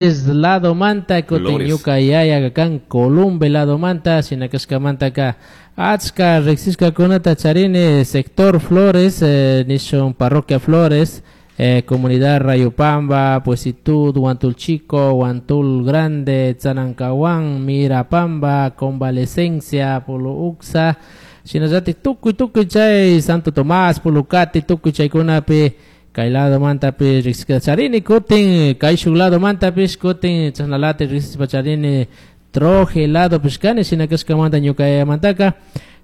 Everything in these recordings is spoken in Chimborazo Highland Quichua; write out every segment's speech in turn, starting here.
Lado manta kutin Flores. Ñuka yaya kan Columbe lado manta, shinakashkamantaka achka riksishkakunata charini sector Flores, nishun parroquia Flores, comunidad Rayupamba, Puesitud, Huantul Chico, Huantul Grande, Tzanancahuán, Mirapamba, Convalecencia, Polo Uxa, shinallatik tukuy tukuy chay Santo Tomás, Pulucati, tukuy chaykunapi kay lado mantapi riksishka charini, kutin kayshuk lado mantapish kutin chashnalati riksishpa charini Troje lado pishkani, shinakashkamanta ñuka yayamantaka,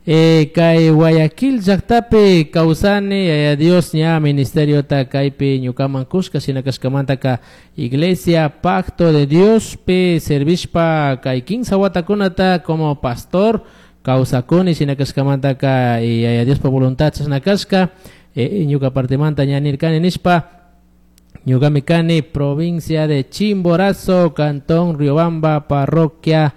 kay Guayaquil llaktapi kawsani, Yaya Dios ña ministeriota kaypi ñukaman kushka, shinakashkamantaka Iglesia Pacto de Dios pi servishpa kay 15 watakunata como pastor kawsakuni, shinakashkamantaka Yaya Diospa voluntad chashnakashka, ñuka partimanta ña nirkani nishpa ñukami kani provincia de Chimborazo, cantón Riobamba, parroquia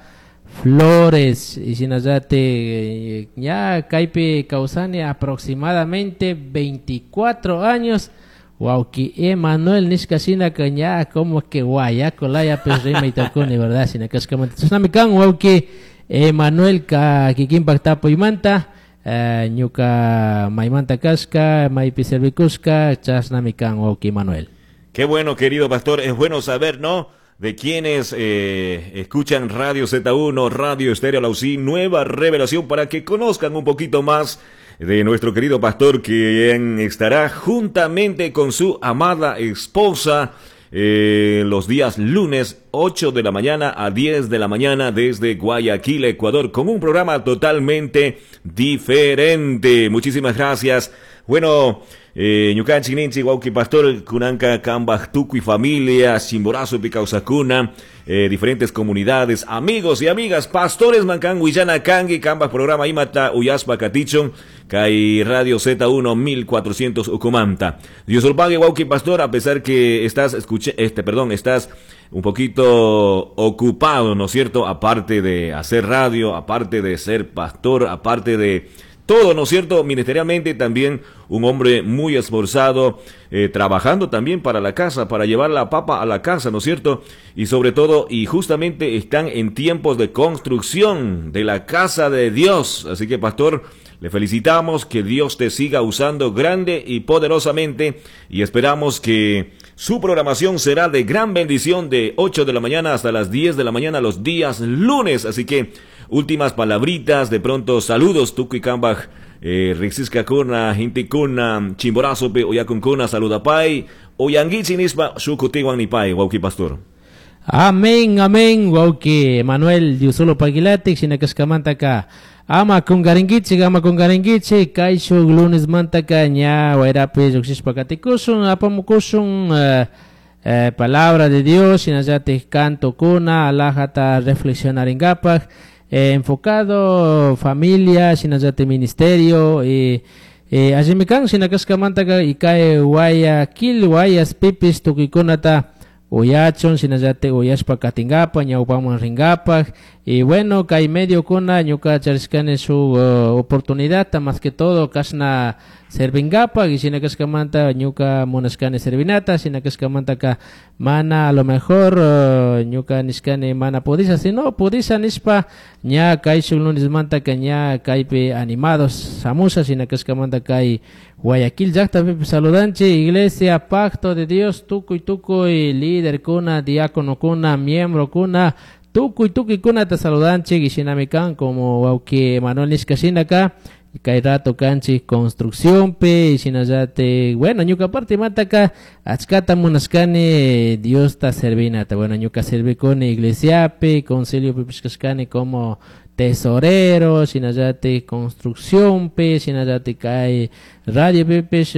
Flores, y shinallati, ña kaypi kawsani aproximadamente 24 años. Wauki Emanuel nishka shinaka ña como que guayaco laya pues rimay tocuni, ¿verdad? Shinakashkamanta. Chashnami kan wauki Emanuel ka kikinpak tapuymanta, ñuka maymanta kashka, maypi servikushka, chashnami kan wauki Emanuel. Qué bueno, querido pastor, es bueno saber, ¿no?, de quienes escuchan Radio Z1, Radio Estéreo Alausí, Nueva Revelación, para que conozcan un poquito más de nuestro querido pastor, quien estará juntamente con su amada esposa los días lunes 8 de la mañana a 10 de la mañana desde Guayaquil, Ecuador, con un programa totalmente diferente. Muchísimas gracias. Bueno, ñukanchik ninchik wawki pastor kunanka kambaj tukuy familia Chimborazopi kawsakuna, diferentes comunidades, amigos y amigas, pastores mankan willana kanki kambaj programa imata uyaspa katichun kay Radio Z1 1400 ukumanta. Dios lo pague, wawki pastor, a pesar que estás escuche, este, perdón, estás un poquito ocupado, ¿no es cierto? Aparte de hacer radio, aparte de ser pastor, aparte de todo, ¿no es cierto? Ministerialmente también un hombre muy esforzado, trabajando también para la casa, para llevar la papa a la casa, ¿no es cierto? Y sobre todo, y justamente están en tiempos de construcción de la casa de Dios. Así que, pastor, le felicitamos, que Dios te siga usando grande y poderosamente, y esperamos que su programación será de gran bendición de 8 de la mañana hasta las 10 de la mañana los días lunes. Así que, últimas palabritas, de pronto saludos, tukuy kambaj, riksishkakuna, hintikuna, Chimborazopi, uyakunkuna, saludapay, uyanguichi nispa, shukutiwan nipay, wawki pastor. Amén, amén, wawki Manuel Diosolo Paguilatic, shinakashkamantaka. Ama kungaringuichi, ama kungaringuichi, kayshuk lunes mantaka ña wayrapi lluqshishpa katikushun, apamukushun, palabra de Dios, shinallatik canto kuna, alajata reflexionaringapaj, enfocado familia, shinallatik ministerio, y allimi kan shinakashkamantaka y kay Guayaquil, Guayas, pipis, tukuykunata uyachun, shinallatik uyashpa katingapa, ñawpaman ringapaj, y bueno, kay medio kuna ñuka charishkani shuk oportunidad, más que todo kashna servingapa, y shinakashkamanta ñuka munashkani servinata, shinakashkamantaka mana a lo mejor, ñuka nishkani mana pudisha, sino pudisha nishpa ña kay shuk lunes mantaka ña kaypi animados samusha, shinakashkamanta kay Guayaquil llaktapi saludanchi, Iglesia Pacto de Dios, tukuy tukuy líder kuna, diácono kuna, miembro kuna, tukuy tukuy kuna te saludanchi, y shinamikan como wawki Manuel nishka shinaka, kay rato kanchi construcción pe, shinallate, bueno, ñuka parte mataka, achkata munashkani, Dios ta servinata, bueno, ñuka servikuni iglesia pe, concilio pipishkashkani como tesorero, shinallate construcción pe, shinallate kay radio pipish,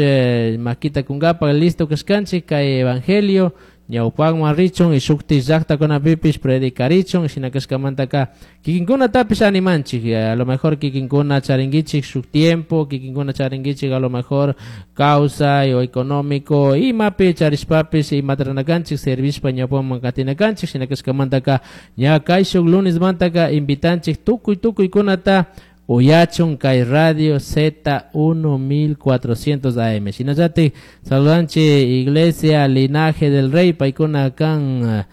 makita kungapa, listo kashkanchi, kay evangelio, ñawpakman richun y shukti llaqtakunapipish predicarichun, shinakashkamantaka kikinkunatapish animanchik, a lo mejor kikinkuna charinguichik shuk tiempo, kikinkuna charinguichik a lo mejor causa o económico, imapi charishpapish imatranakanchik servishpa ñawpaman katinakanchik, shinakashkamantaka ña kay shuk lunes mantaka invitanchik tukuy tukuykunata uyachun kay Radio Z1 1400 AM. Shinallati saludanchi Iglesia Linaje del Rey, paykuna kan